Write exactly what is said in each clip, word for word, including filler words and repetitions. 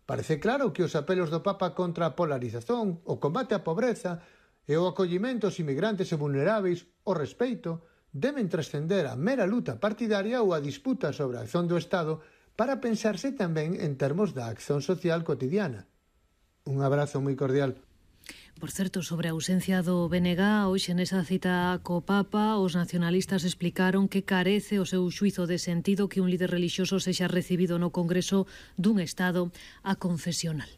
Parece claro que os apelos do Papa contra a polarización, o combate á pobreza e o acollimento aos inmigrantes e vulneráveis, o respeito, deben trascender a mera luta partidaria ou a disputa sobre a acción do Estado para pensarse tamén en termos da acción social cotidiana. Un abrazo moi cordial. Por certo, sobre a ausencia do B N G, hoxe nesa cita co Papa, os nacionalistas explicaron que carece o seu xuizo de sentido que un líder relixioso sexa recibido no Congreso dun Estado aconfesional.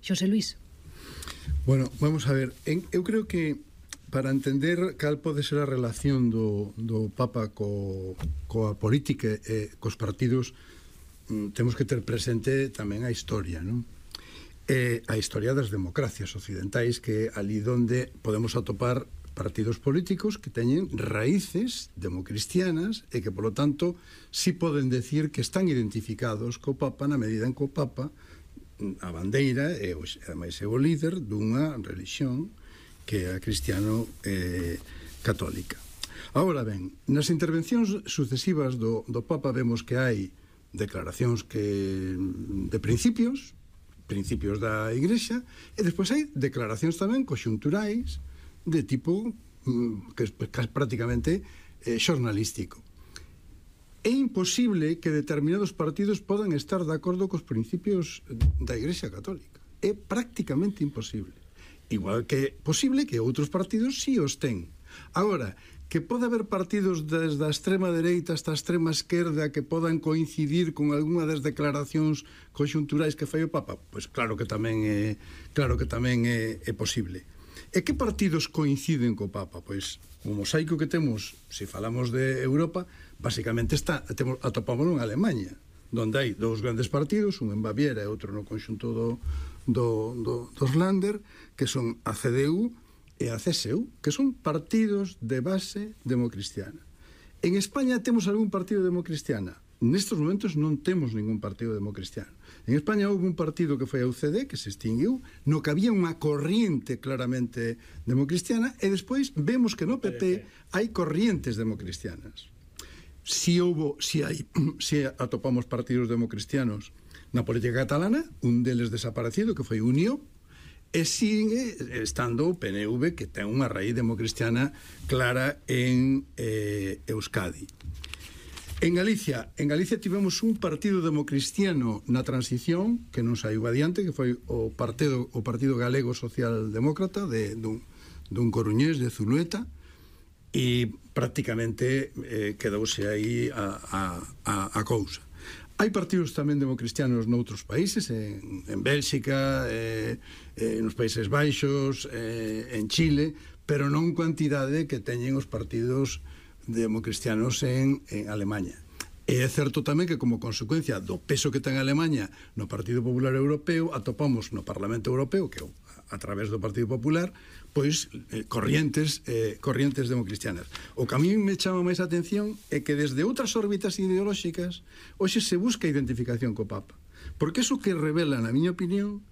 Xosé Luís. Bueno, vamos a ver, en, eu creo que para entender cal pode ser a relación do, do Papa co, coa política e cos partidos, temos que ter presente tamén a historia, non? Eh, a historia das democracias occidentais, que é ali donde podemos atopar partidos políticos que teñen raíces democristianas e que, polo tanto, si poden decir que están identificados co Papa na medida en que o Papa, a bandeira, e ademais é o líder dunha religión que é a cristiano eh, católica. Agora ben, nas intervencións sucesivas do, do Papa vemos que hai declaracións que de principios, principios da Igrexa, e despois hai declaracións tamén conxunturais de tipo que é prácticamente eh, xornalístico. É imposible que determinados partidos podan estar de acordo cos principios da Igrexa Católica. É prácticamente imposible. Igual que é posible que outros partidos si os ten. Agora, que pode haber partidos desde a extrema dereita hasta a extrema esquerda que podan coincidir con algunha das declaracións conxunturais que fai o Papa? Pois claro que tamén é, claro que tamén é, é posible. E que partidos coinciden co Papa? Pois o mosaico que temos, se falamos de Europa, basicamente está, temos, atopámoslo en Alemanha, donde hai dous grandes partidos, un en Baviera e outro no conxunto do, do, do, dos Länder, que son a C D U e a C S U, que son partidos de base democristiana. En España temos algún partido democristiana? Nestes momentos non temos ningún partido democristiano. En España houve un partido que foi a U C D, que se extinguiu, no que había unha corriente claramente democristiana, e despois vemos que no P P hai corrientes democristianas. Si houve, si hai, si atopamos partidos democristianos na política catalana, un deles desaparecido, que foi Unió, e sigue estando o P N V, que ten unha raíz democristiana clara en eh, Euskadi. En Galicia, en Galicia tivemos un partido democristiano na transición que non saiu adiante, que foi o Partido, o partido Galego Socialdemócrata de, dun, dun coruñés de Zulueta, e prácticamente eh, quedouse aí a, a, a, a cousa. Hai partidos tamén democristianos noutros países, en, en Bélxica, eh, eh, nos Países Baixos, eh, en Chile, pero non quantidade que teñen os partidos democristianos en, en Alemanha. E é certo tamén que, como consecuencia do peso que ten a Alemanha no Partido Popular Europeo, atopamos no Parlamento Europeo, que a través do Partido Popular, pois eh, corrientes eh, corrientes democristianas. O que a mí me chama máis a atención é que desde outras órbitas ideolóxicas hoxe se busca identificación co Papa, porque eso que revela, na miña opinión,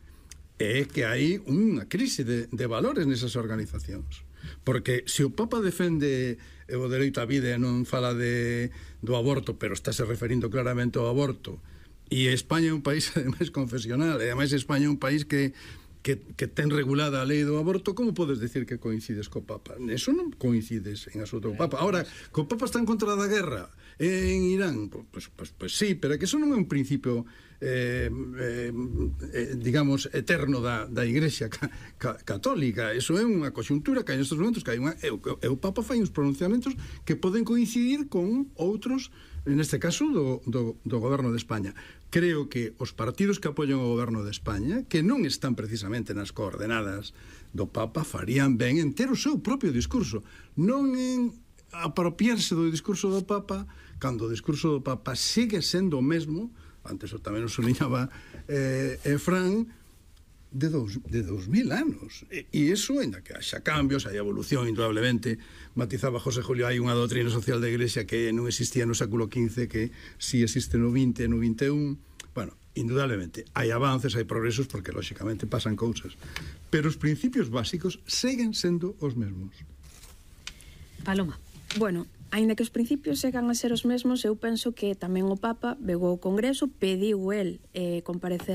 é que hai unha crise de, de valores nesas organizacións. Porque se o Papa defende o dereito á vida e non fala de, do aborto, pero estáse referindo claramente ao aborto, e España é un país ademais confesional, e ademais España é un país que Que, que ten regulada a lei do aborto, como podes decir que coincides co Papa? Eso non coincides en absoluto co Papa. Ahora, co Papa está en contra da guerra en Irán, pois, pois, pois sí, pero que eso non é un principio eh, eh, eh, digamos eterno da, da Igrexa ca, ca, católica. Eso é unha conxuntura que hai nestes momentos, que hai unha, e, e o Papa fai uns pronunciamentos que poden coincidir con outros, neste caso do, do, do goberno de España. Creo que os partidos que apoian o goberno de España, que non están precisamente nas coordenadas do Papa, farían ben en ter o seu propio discurso, non en apropiarse do discurso do Papa, cando o discurso do Papa sigue sendo o mesmo, antes tamén o soniñaba eh, eh, Fran, de dos, de dos mil anos. E, e iso, ainda que haxa cambios, hai evolución, indudablemente, matizaba José Julio, hai unha doutrina social da Igrexa que non existía no século quince, que si existe no vinte e no vinte e un. Bueno, indudablemente, hai avances, hai progresos, porque, lóxicamente, pasan cousas. Pero os principios básicos seguen sendo os mesmos. Paloma. Bueno, aínda que os principios segan a ser os mesmos, eu penso que tamén o Papa vegou ao Congreso, pediu el eh, comparecer